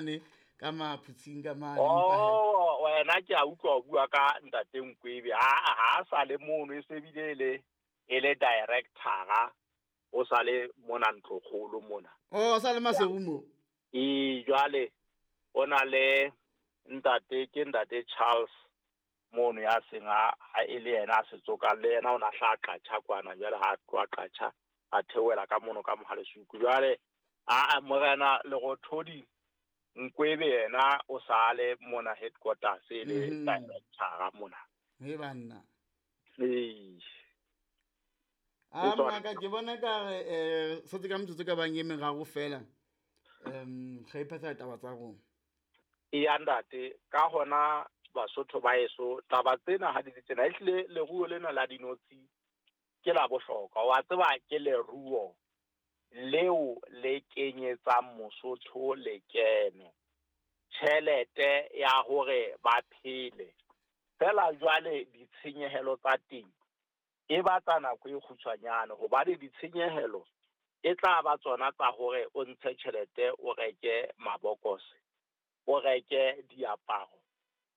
Ne ka maphutsing ka mane. Oh, wena ke a utlwa o bua ka ntate Nkwebe. Ha ha sa le mono e se bile le e le director o sa le mona ntlokgolo mona. Oh, sa le Maseru mo. E jwale o na le ntate ke ntate Charles mono ya seng a e le yena a se tsokang le yena o na hla qatjha kwana jwale ha tloha qatjha a theohela ka mono ka Mohalesuku. Jwale a morena Lerothodi Nkwebe yena o sa le mona headquarters e le director mona. He banna. Ee. A maka ke bona ka re setse ka metsotso ka bang e meraro fela. Ge phetha taba tsa rona. E andate ka hona Basotho ba eso taba tsena ha di le tsena ehlile leruo lena la dinotshi ke la bohlokwa. Wa tseba ke leruo leo le kenyetsang Mosotho lekeno, tjhelete ya hore ba phele. Fela jwale ditshenyehelo tsa teng e batla nako e kgutshwanyane, hobane ditshenyehelo e tla ba tsona tsa hore o ntshe tjhelete o reke mabokose, o reke diaparo,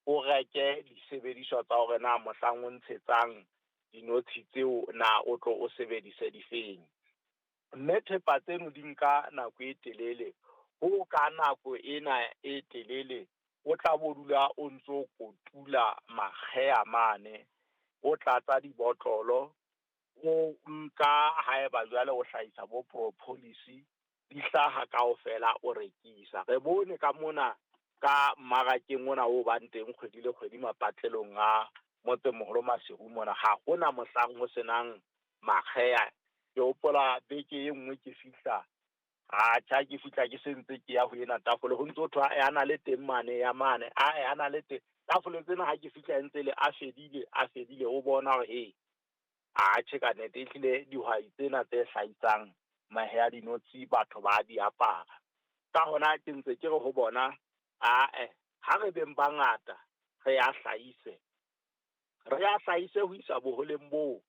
o reke disebediswa tsa hore na mohlang o ntshetsang dinotshi tseo na o tlo o sebedise difeng. Mme thepa tseno di nka nako e telele. Ho ka nako ena e telele o tla bo dula o ntso kotula makgeha mane, o tlatsa dibotlolo, o nka haeba jwale o hlahisa bo propolis di hlaha kaofela o rekisa. Re bone ka mona ka mmarakeng ona o bang teng kgwedi le kgwedi mapatlelong a motsemoholo Maseru mona, ha hona mohlang ho senang makgeha. Ke hopola beke e nngwe ke fihla, atjha ke fihla ke sentse ke ya ho ena tafole, ho ntso thwa ya na le teng mane ya mane, a ya na le teng tafole tsena. Ha ke fihla ntse le a fedile, a fedile, o bona hore he atjhe ka nnete ehlile dihwai tsena tse hlahisang mahe a dinotshi batho ba di apara. Ka hona ke ntse ke re ho bona, ae ha re beng bangata re a hlahise, re a hlahise ho isa boholeng boo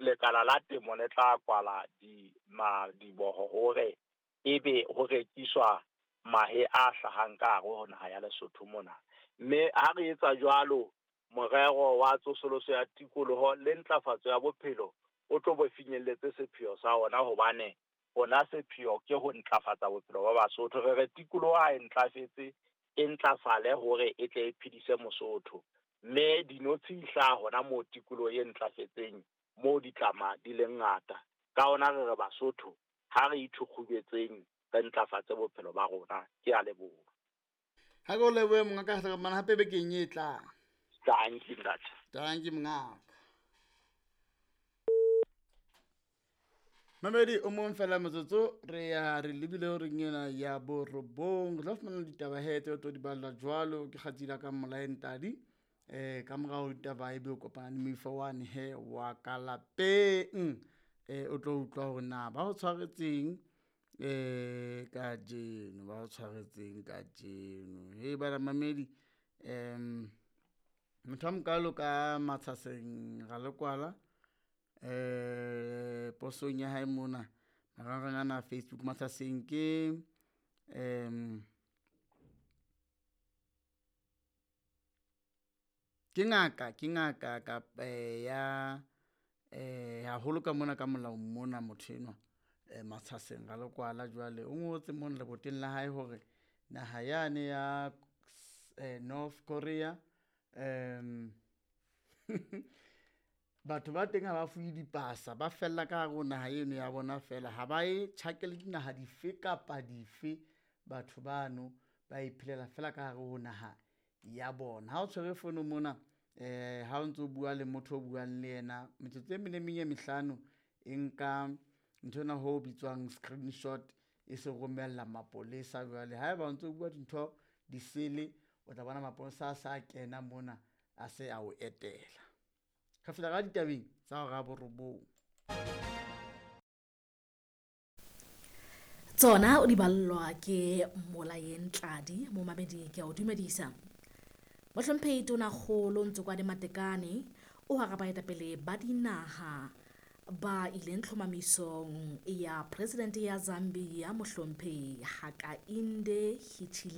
lekala la temo le tla kwala di madiboho hore ebe ho rekiswa mahe a hlahang ka hare ho naha ya Lesotho mona. Mme ha re etsa jwalo, morero wa tsosoloso ya tikoloho le ntlafatso ya bophelo o tlo bo finyelletse sepheo sa ona, hobane ona sepheo ke ho ntlafatsa bophelo ba Basotho. Re re tikoloho ha e ntlafetse, e ntlafale hore e tle e phedise Mosotho. Mme dinotshi di hlaha hona moo tikoloho e ntlafetseng, moo ditlama di leng ngata. Ka hona re re Basotho ha re ithukgubetseng re ntlafatse bophelo ba rona. Ke a leboha. Ha ke o lebohe mongaka, re mana hape bekeng e tlang. Dankie ntate. Dankie mongaka. Mamedi o mong fela motsotso re ya re lebile ho reng ena ya borobong. Re tla fumana ditaba he tse o tlo di balla jwalo ke kgatsila ka Molaentadi. Ka morao ditaba ebe o kopana le moifo wane he wa ka lapeng. O tlo utlwa hore na ba o tshwaretseng kajeno, ba o tshwaretseng kajeno. He bana mamedi, motho a mokalo ka Matshaseng Ralekwala, posong ya hae mona marangrang ana a Facebook. Matshaseng ke ke ngaka ka ya haholo ka mona ka molaong mona motho enwa Matshaseng Ralekwala. Jwale o ngotse mona leboteng la hae hore naha yane ya North Korea batho ba teng ha ba fuwe dipasa, ba fella ka hare ho naha eno ya bona fela, ha ba e tjhakele dinaha dife kapa dife. Batho bano ba iphelela fela ka hare ho naha ya bona. Ha o tshwere fono mona, ha o ntso bua le motho o buang le yena metsotso e mene meng e mehlano, e nka ntho ena ho bitswang screenshot e se romella mapolesa. Jwale haeba o ntso bua dintho disele, o tla bona mapolesa a sa kena mona a se a o etela. Re fihla ka ditabeng tsa hora ya borobong. Tsona o di ballwa ke Molaeng Tladi momamedi, ke a o dumedisa. Mohlomphehi Tonakgolo Ntsokoane Matekane o hara baetapele ba dinaha ba ileng tlhomamisong ya presidente ya Zambia mohlomphehi Hakainde Hichilema.